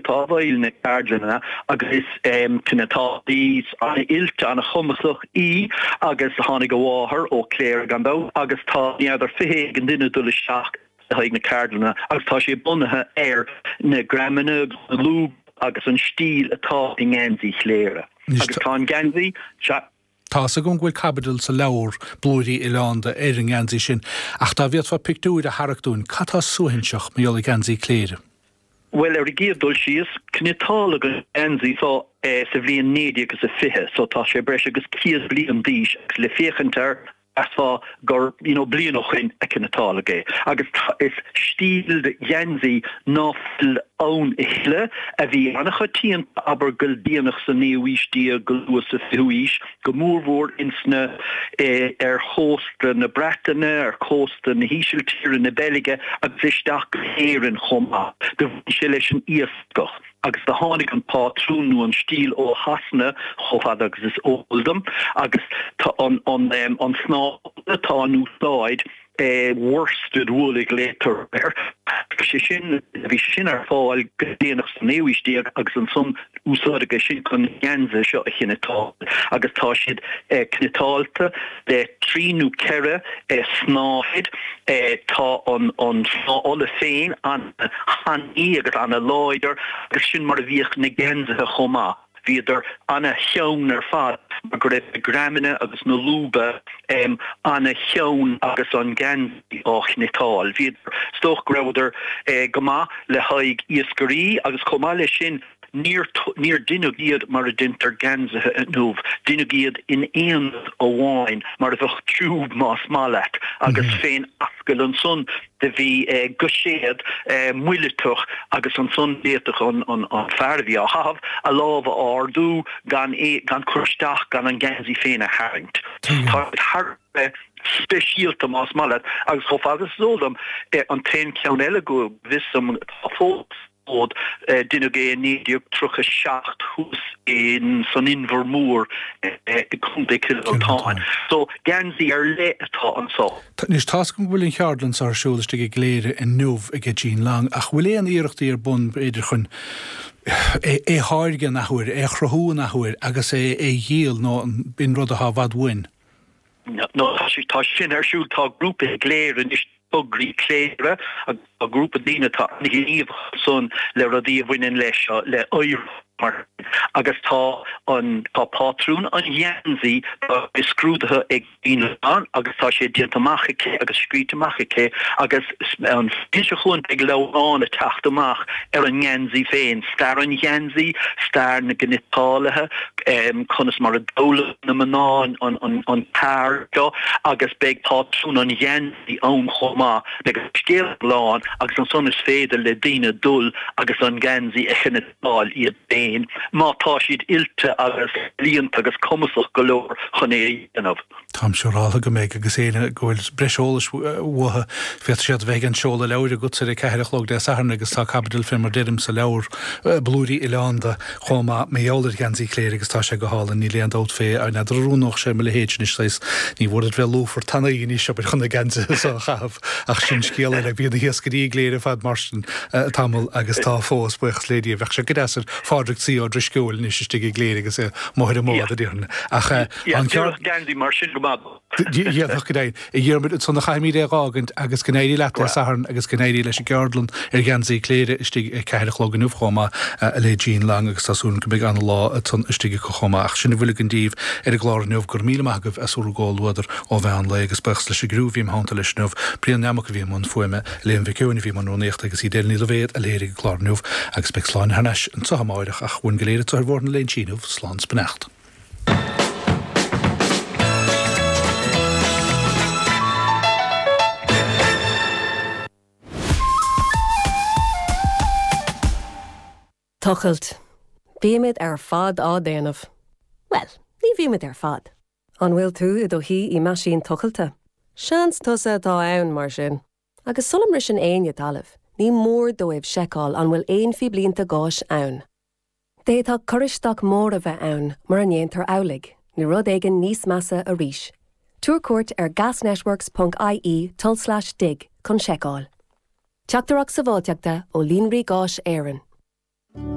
atá i bhfeighil na ceardlainne agus is cniotálaí an-oilte, an-chumasach í agus tháinig a mháthair ó Cléire gan dabht agus tá n'fheadar 20 éigin duine ag dul isteach le haghaidh na ceardlainne agus tá sé bunaithe ar na greamanna agus na lúba agus an stíl atá i ngeansaí Chléire. Agus tá an geansaí, sea. Tá fhios agam go bhfuil caibidil sa leabhar Blúirí Oileánda ar an ngeansaí sin, ach dá bhféadfá pictiúir a tharrac dúinn, cad tá suaithinseach mar gheall ar gheansaí Cléire? Bhuel, ar an gcéad dul síos, cniotáladh an geansaí so sa bhliain 1920, so tá sé breis agus 100 bliain d'aois agus le féachaint air, Mheasfá gur you know bliain ó shoin a cniotáladh é. Agus is stíl de gheansaí ná fuil ann a thuilleadh, a bhí an-choitianta abair go déanach sa naoú aois déag go luath sa fichiú aois, go mórmhór ins na ar chósta na Breataine, ar chósta na hÍsiltíre, na Beilge agus isteach go hÉirinn chomh maith. Do bhain sé leis an iascach. Agus do tháinig an pátrún nó an stíl ó Shasana chomh fada agus is eol dom, agus tá an an snáth atá in úsáid, worsted wool a ghlaotar air, sé sin, bhí sé sin ar fáil go déanach sa naoú aois déag agus ansan úsáideadh é sin chun na geansaithe seo a chniotáil agus tá siad cniotáilte le trí nó ceithre snáthaid. Tá an snáth olla féin an-tanaí agus an-láidir agus sin mar a bhíodh na geansaithe chomh maith. Bhíodar an-teann ar fad mar go raibh na greamanna agus na lúba an-teann agus an geansaí á chniotáil. Bhíodar, is dócha go rabhadar go maith le haghaidh iascairí agus chomh maith leis sin, Níor níor deineadh iad mar a deintear geansaithe inniu, deineadh iad in aonad amháin, mar a bheadh tiúb más maith leat, agus fén ascaill ansan do bhí goiséad muileatach agus ansan d'fhéadfadh an an fear a bhí á chaitheamh a lámh a ardú gan é gan cur isteach gan an geansaí féin a tharraingt. Tá siad thar a bheith speisialta más maith leat agus chomh fada is is eol dom an t-aon cheann eile go bhfios dom atá fós fód. Deineadh é i 1937 thuas in san Inbhear Mór i gContae Chill Mhantáin. So, geansaí ar leith atá anso. Anois, tá's agam go bhfuil an cheardlann seo ar siúl istigh i gCléire inniu ag Jean Long, ach bhfuil aon iarrachtaí ar bun, b'fhéidir, chun é a tháirgeadh an athuair, é a chruthú an athuair agus é a dhíol, nó an b'in rud atá i bhfad uainn? No, tá sé, tá sin ar siúl, tá grúpa i gCléire anois, Tograí Cléire, agus tá grúpa daoine atá an-ghníomhach ansan le rudaí a bhaineann leis seo, le oidhreacht mar sin, agus tá an, tá pátrún an gheansaí, tá sé scrúdaithe ag Jean Long agus tá sé déanta amach aici agus scríte amach aici agus an bhliain seo chugainn beidh leabhrán ag teacht amach ar an ngeansaí féin, stair an gheansaí, stair na gcniotálaithe, conas mar a d'fhoghlaim na mná an ceard seo agus beidh pátrún an gheansaí ann chomh maith. Beidh an scéal lán agus ansan is féidir le daoine dul agus an geansaí a chniotáil iad féin má tá siad oilte agus líonta agus cumasach go leor chun é a dhéanamh. Táim siúráltha go mbeidh agus éinne go bhfuil breis eolais uathu, féadfaidh siad a bheith ag an seoladh leabhair agatsa ar a ceathair a chlog Dé Sathairn agus tá caibidil fé mar deirim sa leabhar Blúirí Oileánda chomh maith mar gheall ar gheansaí Chléire agus tá sé go hálainn, níl aon dabht fé, n'fheadar an oiriúnódh sé mo leithéid anois saghas, ní mhór duit bheith lúfar tanaí anois abair chun na geansaithe so a chaitheamh ach sin scéal eile, bhí na hiascairí i gCléire fad mar sin tamall agus tá fós, buíochas le Dia, bheadh sé go deas ar Phádraig C. Ó Drisceoil anois istigh i gCléire agus é amuigh ar an mbád a déarfainn ach an ceart. Geansaí mar sin go maith. Dhéanfadh go deimhin. A Dhiarmuid, ansan a chaithfimid é a dh'fhágaint agus go n-éirí leat Dé Sathairn agus go n-éirí leis an gceardlann ar gheansaí Chléire istigh ag ceathair a chlog inniu chomh maith le Jean Long agus tá súil agam go mbeidh ana-lá ansan istigh acu chomh maith. Ach sin a bhfuil againn daoibh ar an gclár inniu. Go raibh míle maith agaibh as bhur gcomhluadar ó mheán lae agus buíochas leis an gcriú a bhí im theannta leis inniu, Brian Nammock a bhí i mbun fuaime, Liam Mhic Eoin a bhí i mbun rúnaíochta agus Edel Ní Loibhéad a léirigh an clár inniu agus beidh Sláine thar n-ais anso amáireach ach uainn go léir anso ar Bhóthar na Léinsí inniu, slán 's beannacht. Tochailt. Bímid ar fad á déanamh. Bhuel, ní bhímid ar fad. An bhfuil tú i do shuí i meaisín tochailte? Seans tusa atá ann, mar sin. Agus sula mbriseann éinne talamh, ní mór dóibh seiceáil an bhfuil aon phíblínte gáis ann. D'fhéadfadh cur isteach mór a bheith ann mura ndéantar amhlaidh, nó rud éigin níos measa arís. Tabhair cuairt ar gasnetworks ponc ie tulslais dig chun seiceáil. Teachtaireacht sábháilteachta ó Líonraí Gáis Éireann.